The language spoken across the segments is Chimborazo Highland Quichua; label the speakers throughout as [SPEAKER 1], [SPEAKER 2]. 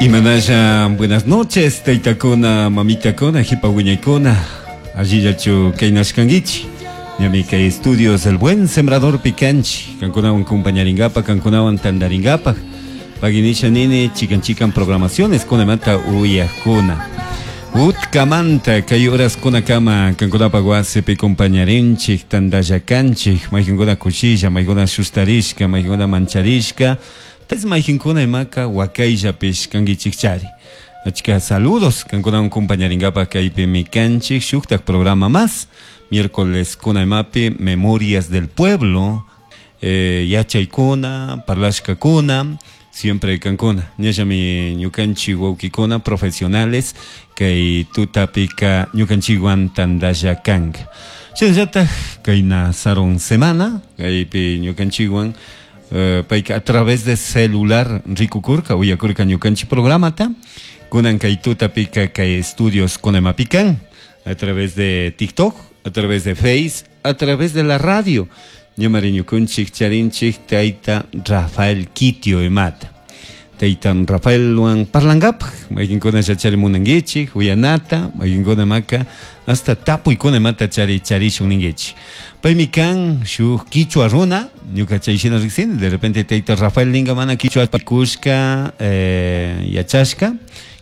[SPEAKER 1] Imanalla, buenas noches, taytakuna, mamitakuna, jipa wiñaykuna, allillachu kaynashkankichik. Ñami kay estudios El Buen Sembrador pikanchik, kankunawan compañaringapaj, kankunawan tandaringapaj. Paginisha nini chikan chikan programaciones kunamanta uyajkuna. Utkamanta kay horaskunakama kankunapaj wasipi compañarinchik, tandallakanchik, mayqinkuna kushilla, mayqinkuna sustarishka, mayqinkuna mancharishka, tas mayqinkuna imaka wakayllapish kankichikchari. Achka saludos kankunawan compañaringapaj kaypimi kanchik shuktak programa más miércoles kunaymapi Memorias del Pueblo, yachaykuna, parlashkakuna, siempre kankuna. Ñallami ñukanchik wawkikuna profesionales kay tutapika ñukanchikwan tantalla kanka. Shinallatak kayna sarun semana kaypi ñukanchikwan payka a través de celular rikukurka, uyakurka ñukanchik programata. Kunan kay tutapika kay estudios kunaymapi kan a través de TikTok, a través de Face, a través de la radio. Ñamari ñukunchik charinchik tayta Rafael Kitio imata. Tayta Rafaelwan parlangapaj, mayqinkuna chari munankichik, uyanata, mayqinkuna maka hasta tapuykuna imata chari charishun ninkichik. Paymi kan shuk kichwa runa, ñuka chay shina riksini, de repente tayta Rafael ninga mana kichwa kushka, yachashka,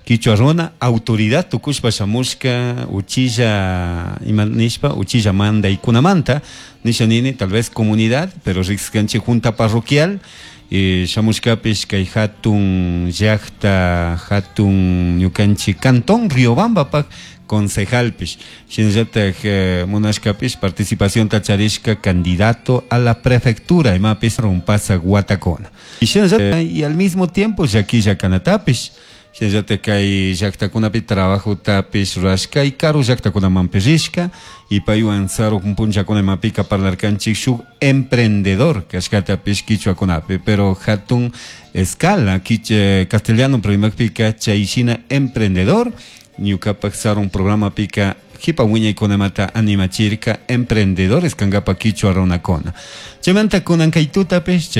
[SPEAKER 1] kichwa runa, autoridad tukushpa shamushka, uchilla ima nishpa, uchilla mandaykunamanta, nisha nini, tal vez comunidad, pero rikskanchik junta parroquial, shamushkapish kay hatun llaqta, hatun ñukanchik cantón Riobambapaj concejalpish, shinallatak munashkapish participacionta charishka candidato a la prefectura imapis rumpasaq watakuna. Shinallatak y al mismo tiempo llakilla kanatapish, shinallatak kay llaqtakunapi trabajotapish rurashka y karu llaqtakunamanpish rishka y paywan sarun punllakuna imapika parlarkanchik shuk emprendedor kashkatapish kichwakunapi, pero hatun escala kiche castellano pero chay shina emprendedor ñukapak sarun programapika jipa wiñaykunamata animachirka emprendedores kankapa kichwa runakuna. Chaymanta kunan kay tutapish chay